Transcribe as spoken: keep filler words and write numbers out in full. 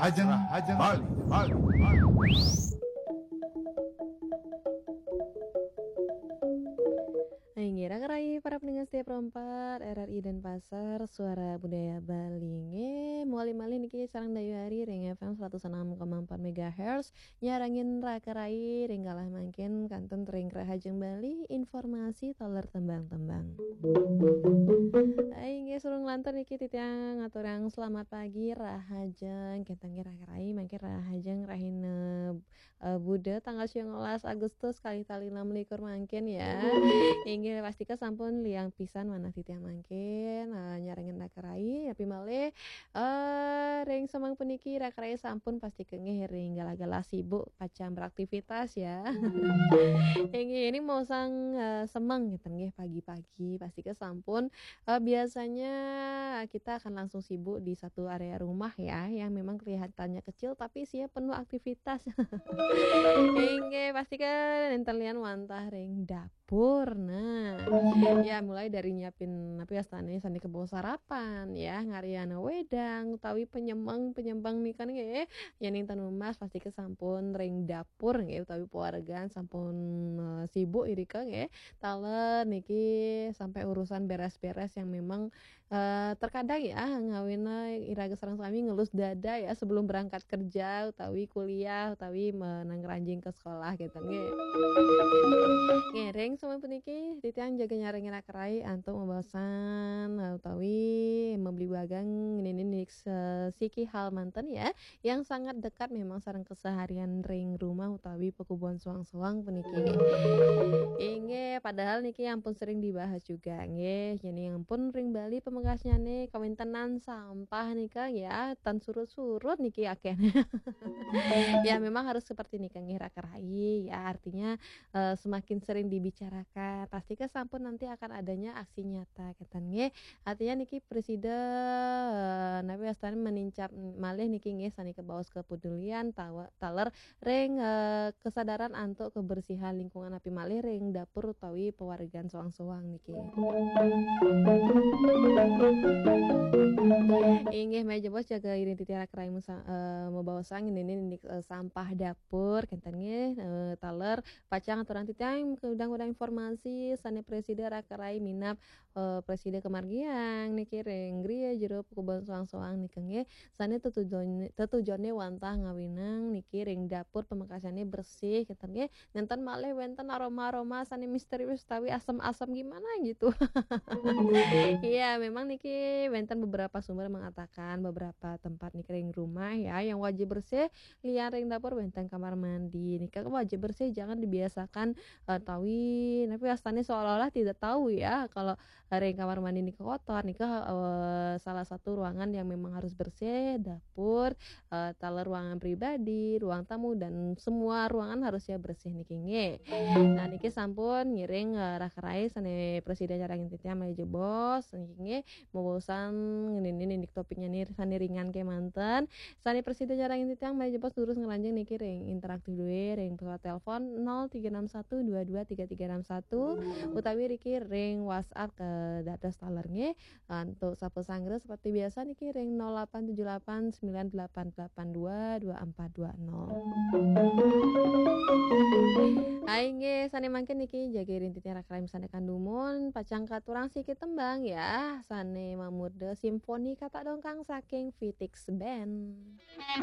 Rahajeng, Rahajeng Bali, Bali, Bali. Inggih, raka rayi para pendengar setia perempat R R I Denpasar, Suara Budaya Bali. Nggih, malih-malih niki sareng Dayu Ari ring F M seratus enam koma empat megahertz, nyarengin raka rayi ring galah mangkin kantun ring Rahajeng Bali, informasi taler tembang-tembang. Inggih, sareng lantur niki titiang ngaturang selamat pagi, Rahajeng, kenten nggih raka rayi, mangkin Rahajeng rahina eh, Buda tanggal siang belas Agustus kalih tali enam likur mangkin ya. Inggih, pastika sampun liang pisan manah titiang mangkin, eh, nyarengin raka rayi, napi malih eh ring semeng puniki raka rayi sampun pastika nggih ring galah-galah sibuk pacang beraktivitas ya. Inggih, ini mau sang eh, semeng ngeten nggih pagi-pagi, pastika sampun eh, biasanya kita akan langsung sibuk di satu area rumah ya, yang memang kelihatannya kecil tapi isinya penuh aktivitas. Inggih, pastika nénten lian wantah ring dapur. Nah, ya mulai dari nyiapin napi wastané sané kabawa sarapan ya, ngarihang wédang utawi penyemeng, penyemeng nika nggih. Yén ing ten Mas pastika sampun ring dapur nggih utawi pawargan sampun eh, sibuk irika nggih. Taler niki sampai urusan beres-beres yang memang eh, terkadang ya ngawina iraga sareng sami ngelus dada ya sebelum berangkat kerja utawi kuliah utawi menang ranjing ke sekolah gitu nggih. Nggih, ring semeng puniki titiang jaga nyarengin raka rayi antuk mabaosan eh, utawi mabligbagang nini nik se- siki hal manten ya, yang sangat dekat memang sareng keseharian ring rumah utawi pakubuhan soang-soang puniki. Inggih, padahal niki ampun sering dibahas juga nggih. Jadi ampun ring Bali pamekasnyané kawéntenan sampah nika ya, tan surut-surut niki akéh. Ya memang harus seperti nika nggih raka rayi ya, artinya eh, semakin sering dibicarakan, pastika sampun nanti akan adanya aksi nyata kenten nggih. Artinya niki presida eh, napi wastané menincap malih niki nggih sané kabaos kepedulian tawa- taler ring eh, kesadaran antuk kebersihan lingkungan napi malih ring dapur utawi pawargan soang-soang niki. Inggih, malih jebos jaga iring titiang raka rayi musa- eh, mabaosan nini nik eh, sampah dapur kenten nggih eh, taler pacang aturang titiang kudang-kudang informasi sané presida raka rayi minab eh, presida kamargiang niki ring griya jero pakubuhan soang-soang nika nggih. Sané tetujoné tetujoné wantah ngawinang niki ring dapur pamekasnyané bersih kenten nggih. Nénten malih wénten aroma-aroma sané misterius utawi asem-asem gimana gitu. Iya, memang niki wénten beberapa sumber mengatakan beberapa tempat niki ring rumah ya yang wajib bersih, lian ring dapur wénten kamar mandi. Nika wajib bersih, jangan dibiasakan eh, tawi napi wastané seolah-olah tidak tahu ya kalau ring kamar mandi nika kotor. Nika eh, salah satu ruangan yang memang harus bersih, dapur, eh, taler ruangan pribadi, ruang tamu dan semua ruangan harusnya bersih niki nggih. Nah, niki sampun ngiring eh, raka rayi sané presida nyarengin titiang malih jebos niki nggih. Mabaosan nini nik topiknya nih sané ringan kémanten. Sané presida nyarengin titiang malih jebos durus ngranjing niki ring interaktif duwé ring pesawat telepon nol tiga enam satu dua dua tiga tiga enam satu utawi riki ring WhatsApp ke dados taler nggih. Antuk sapu sanggra seperti biasa niki ring nol delapan tujuh delapan sembilan delapan delapan dua dua empat dua nol. Hai nggih, sané mangkin niki jaga iring titiang raka rayi sané kadumun, pacang katurang siki tembang ya, sané mamurda simfoni katak dongkang saking Fitix Band.